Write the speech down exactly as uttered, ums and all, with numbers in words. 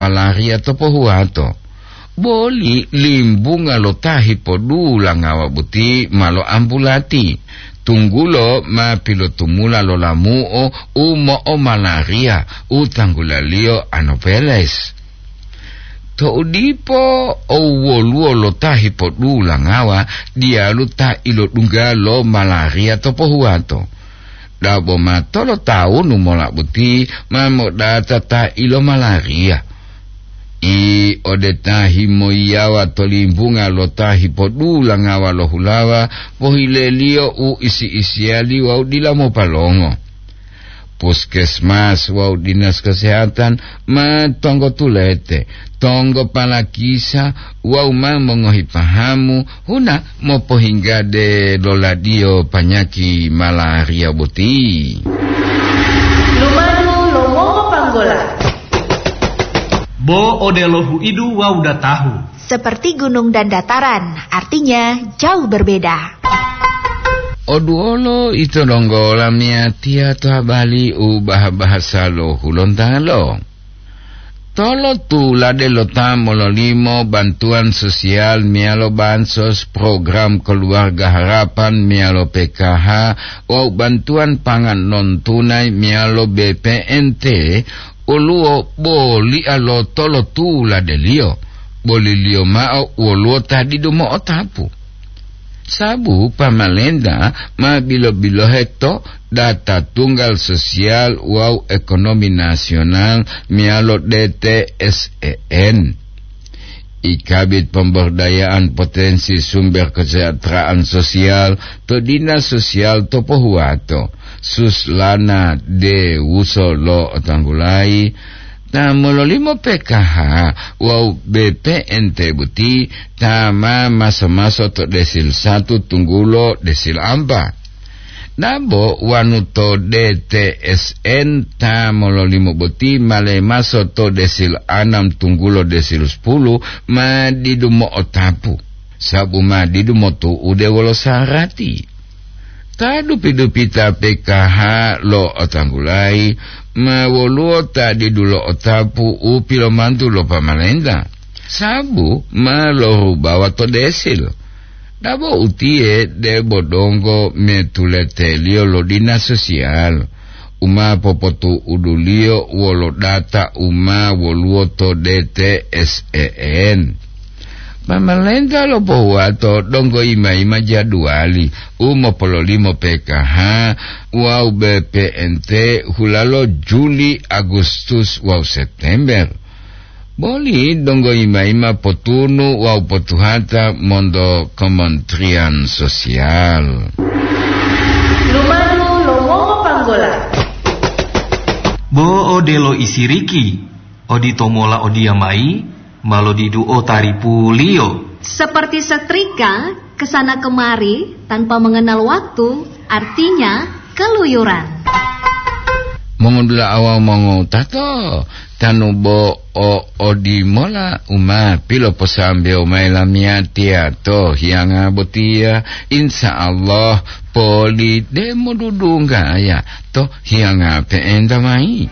malaria to pohuwato. Boli limbunga lo ta hipodula ngawa boti ma loambulati, tunggulo ma pilotumula lo lamu'o u mo'omalaria u tanggulaliyo Anopheles. To'u dipo, o woluwo lo ta hipodula ngawa diyalu ta ilodungga lo malaria to pohuwato. Dabo ma tolotawunu mola boti ma modata ta ilomalaria. I ode ta himoyiyawa to limbunga lo ta hipodula ngawa lo hulawa, pohileliyo u isi-isiyali wawu dila mopalongo. Puskesmas wawu dinas kesehatan ma tonggo tulete, tonggo palakisa wawu ma mongohi pahamu huna mopohinggade loladiyo panyaki malaria boti. Lumadu lo mongopanggola. Bo odelo huidu wawu datahu. Seperti gunung dan dataran, artinya jauh berbeda. Oduolo ito donggo lamiyatiya to habali u baha-bahasa lo Hulontalo. Tolotulade lo ta mololimo bantuan sosial meyalo bansos, program Keluarga Harapan meyalo P K H, wawu bantuan pangan non tunai meyalo B P N T, woluwo bolia lo tolotuladeliyo, boliliyo mao woluwo ta didu mo'otapu. Sabu pamalenta ma bilo-bilohe to data tunggal sosial wawu ekonomi nasional meyalo D T S E N. I Kabid Pemberdayaan Potensi Sumber Kesejahteraan Sosial to Dinas Sosial to Pohuwato, Suslana Dewuso lo'otanggulayi, ta mololimo P K H wawu B P N T boti ta ma maso-maso to desil satu tunggulo desil ampa. Dabo wanu to D T S N ta mololimo boti ma lemaso to desil anam tunggulo desil sepuluh ma didu mo'otapu, sabu ma didu motu'ude wolo sarati. Ta dupi-dupita P K H lo'otanggulayi ma woluwo ta didu lo'otapu u pilomantu lo pamalenta, sabu ma lorubawa to desil. Dabo utiye debo donggo metuleteliyo lo dinas sosial, u ma popotu'uduliyo wolo data u ma woluwo to D T S E N. Pamalenta lo pohuwato donggo yima-yima jaduwali u mopololimo P K H wawu B P N T hulalo Juli, Agustus wawu September. Boli donggo yima-yima potunu wawu potuhata monto Kementerian Sosial. Lumadu lo mongopanggola. Bo odelo isiriki, odito mola odiyamayi, ma lodiduo taripuliyo. Seperti setrika, kesana kemari tanpa mengenal waktu, artinya keluyuran. Mongodula'a wawu mongowutato, tanu bo o odimola u ma piloposambewo mayi lamiyatiya to hiyanga botiya, insya Allah poli demo dudunggaya to hiyanga pe'enta mayi.